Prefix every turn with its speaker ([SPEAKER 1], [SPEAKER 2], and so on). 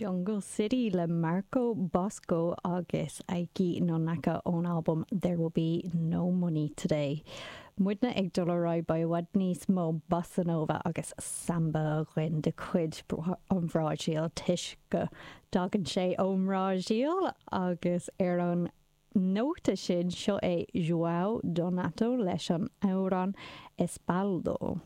[SPEAKER 1] Jungle City le Marco Bosco agus Eiki Nonaka ón albam There Will Be No Money Today. Muidne ag dul ar aghaidh, beidh i bhfad níos mó bossa nova agus samba againn de chuid an Bhrasaíl toisc go dtagann sé ón mBrasaíl agus ar an nóta sin, seo é João Donato leis an amhrán Espaldo.